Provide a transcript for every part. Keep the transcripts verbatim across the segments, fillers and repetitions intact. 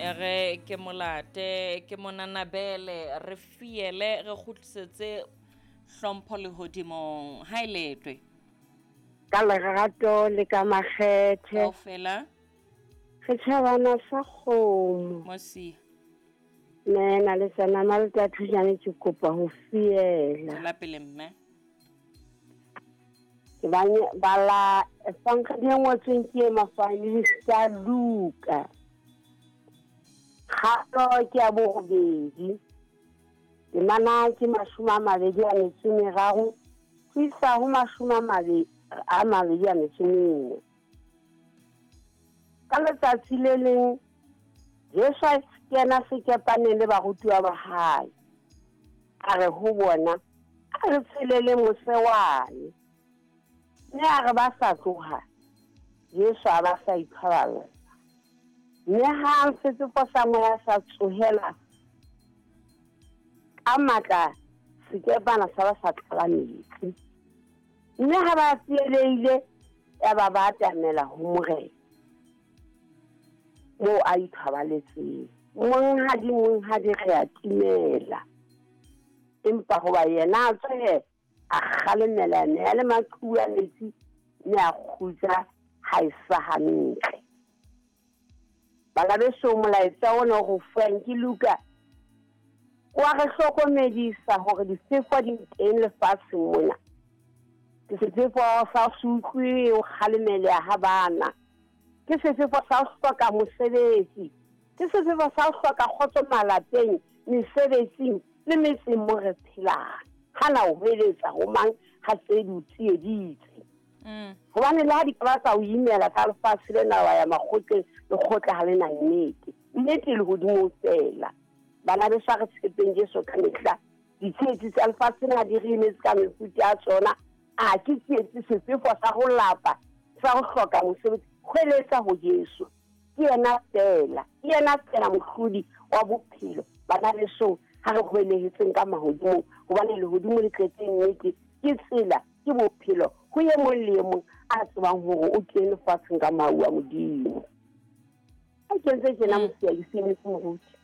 Ere ke molate ke monanabele re fiele re kgutlisetse hlompho lehodimong. Ha e letwe. Ka lerato le ka makgethe. Kaofela. Re tjhabana sa kgomo. Mosia. Nna le tsana malta thujane ke kopa ho fiela. Tswela pele mme. Ke bala efangedi e ngotsweng ke Mafanisa Luka. Kgato ke ya borobedi. Temana ke mashome a mabedi a metso e meraro ho isa ho mashome a mabedi a mabedi a metso e mene. Ka letsatsi le leng Jesu a kena sekepaneng le barutuwa ba hae. A re ho bona, a re tshelele mose wane. Mme a re ba sa tloha, Jesu a ba sa iphaballa. Mme hang sefefo sa moya sa tsohela ka matla, sekepana sa ba sa tlala metsi. Mme ha ba tsielehile, ya ba ba atamela ho Morena moo a ithobaletseng. Monghadi, monghadi, re a timela. Empa hoba yena a tswe, a kgalemela meya le maqhubu a metsi, mme a kgutsa ha e sa hantle. Bana beso, molaetsa ona o re fuwang ke Luka wa re hlokomedisa hore difefo di teng lefatsheng mona. Ke sefefo sa ho se utlwe ho kgalemeleha ha bana. Ke sefefo sa ho hloka mosebetsi. Ke sefefo sa ho hloka kgotso malapeng, mesebetsing le metseng mo re phelang. Hana o hweletsa ho mang ha tse di o tsieditse. Mm. Hobane le ha di ka ba tsa o imela ka lefatshe lena wa ya makgotleng, lekgotla ha le na nnete. Nnete e lehodimong feela. Bana beso, a re tshepeng Jesu ka mehla. Ditsietsi tsa lefatshe lena di re imetse ka mefuta ya tsona. A ke tsietsi sefefo sa ho lapa, sa ho hloka mosebetsi. Hweletsa ho Jesu. Ke yena feela, ke yena feela mohlodi wa bophelo. Bana beso, ha re hwelehetseng ka mahodimong, hobane lehodimo le tletse nnete, ke tsela, ke bophelo. Ho e mong le e mong a tsebang hore o kene lefatsheng ka mahu a Modimo. Ha ke ntse tjena mosia ke sebetse moruti.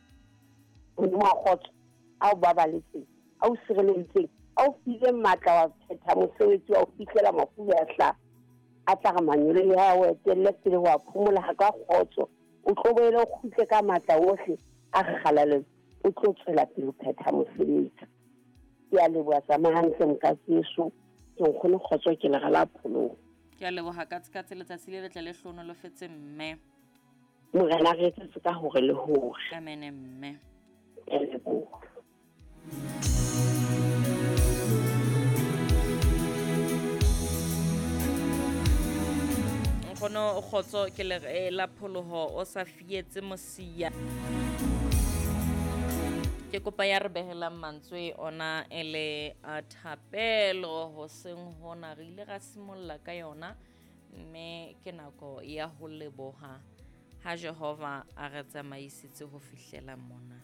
Modimo wa kgotso, a o babaletseng, a o sireleditseng, a o file matla wa phetha mosebetsi wa ho fihlela mafube a hlaha. A tla re manyolo ya o etelle pele ho a phomola ha ka kgotso. O tlo boele o kgutle ka matla ohle a kgalalelo, o tlo tswela pele ho phetha mosebetsi. Ke a leboha, tsamaya hantle mokatseso. Ke nkgone kgotso, ke lera la pholoho. Ke a leboha ka tse letsatsi le letle le hlohonolofetse mme. Morena re etsetse ka hore le hore. Amen mme. Ke a leboha. Nkgono kgotso ke le la pholoho o sa fietse mosia. Ke kopa ya re behelang mantswe ona e le a thapelo hoseng hona re ile ra simolla ka yona mme ke nako ya ho leboha ha Jehova a re tsamaisitse ho fihlela mona.